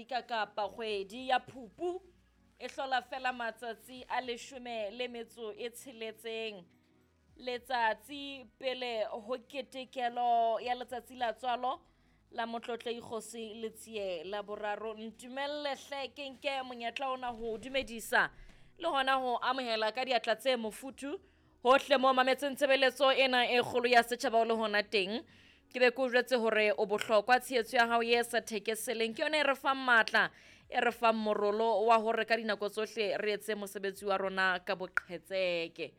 Kgwedi ka kapa kgwedi ya Phupu e hlola fela matsatsi a 16. Letsatsi pele ho ketekelo ya letsatsi la tswalo la Motlotlei Kgosi Letsie la boraro. Ntumelle hle ke nke monyetla ona ho dumedisa le hona ho amohela ka diatla tse mofuthu hohle mo mametseng tshebeletso ena e kgolo ya setjhaba o le hona teng. Ke be ke o jwetse hore o bohlokwa, tshehetso ya hao ye sa thekeseleng ke yona e re fang matla, e re fang morolo wa hore ka dinako tsohle re etse mosebetsi wa rona ka boqhetseke.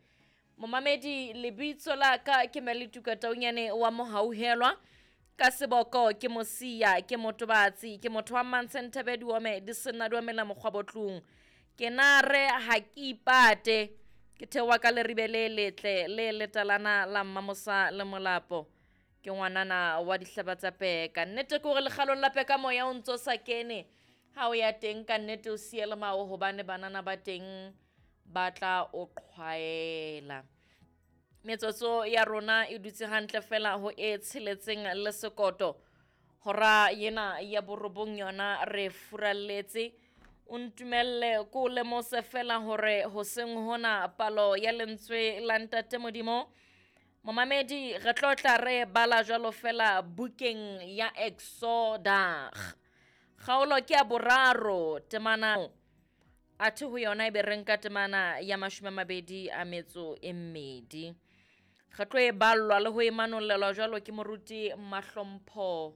Momamedi, lebitso la ka ke Melituka Taunyane wa Mohauhelwa, ka seboko ke Mosia, ke motobatsi, ke motho wa Mmantshe Diome, di senna di omela mokgwa botlung. Ke nare ha ke ipate, ke theoha ka leribe le letle le letalana la Mmamosa le Molapo. Ke ngwanana wa dihlaba tsa peka. Nnete ke hore lekgalong la peka moya o ntso sa kene. Ha o ya teng ka nnete o siye le mao hobane banana ba teng ba tla o qhwaela. Metsotso ya rona e dutse hantle fela ho e tsheletseng le sekoto. Hora yena ya borobong yona re furalletse. O ntumelle ko lemose fela hore hoseng hona palo ya lentswe la Ntate Modimo. Momamedi, re tlo tla re bala jwalo fela bukeng ya Exoda. Kgaolo ke ya boraro, temana athe ho yona e be re nka temana ya 22. Re tlo e ballwa le ho e manollelwa jwalo ke moruti Mahlompho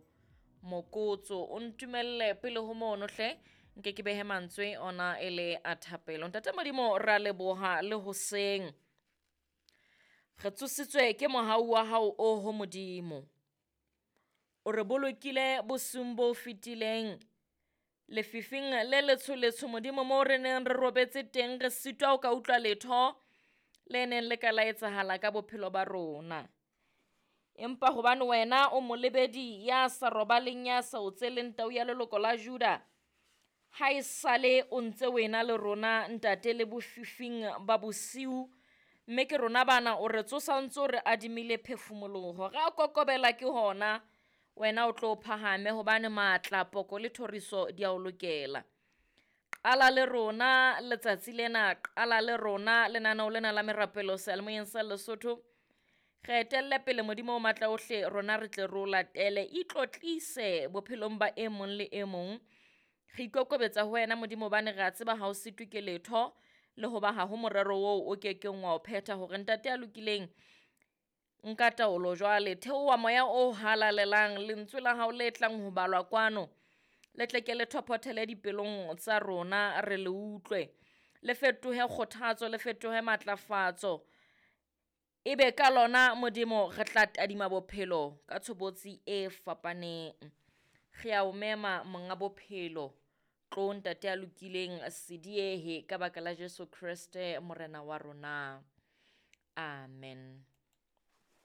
Mokotso. O ntumelle pele ho mono hle, nke ke behe mantswe ona e le a thapelo. Ntate Modimo, ra leboha le hoseng. Re tsositswe ke mohau wa hao o ho Modimo. O re bolokile bosiung bo fetileng. Lefifing le letsho letsho Modimo moo re neng re robetse teng, re sitwa ho ka utlwa letho le neng le ka la etsahala ka bophelo ba rona. Empa hobane wena o molebedi ya sa robaleng, ya sa otseleng tau ya leloko la Juda, ha e sale o ntse wena le rona ntate le bofifing ba bosiu, mme ke rona bana o re tsosa o ntso re adimile phefumoloho. Re a kokobela ke hona, wena o tlo phahame hobane matla, poko le thoriso di a o lokela. Qala le rona letsatsi lena, qala le rona lenaneo lena la merapelo seyalemoyeng sa Lesotho. Re etelle pele Modimo o matla ohle, rona re tle re o latele. Itlotlise bophelong ba e mong le e mong. Re ikokobetsa ho wena Modimo hobane re a tseba ha o sitwe ke letho, le hoba ha ho morero oo o kekeng wa o phetha hore ntate ya lokileng nka taolo jwale. Theoha moya o halalelang, lentswe la hao le tlang ho balwa kwano, le tle ke le thophothele dipelong tsa rona, re le utlwe. Le fetohe kgothatso, le fetohe matlafatso. Ebe ka lona Modimo re tla tadima bophelo ka tshobotsi e fapaneng. Re a o mema monga bophelo, tlo ntate ya lokileng se diehe ka baka la Jesu Kreste morena wa rona. Amen.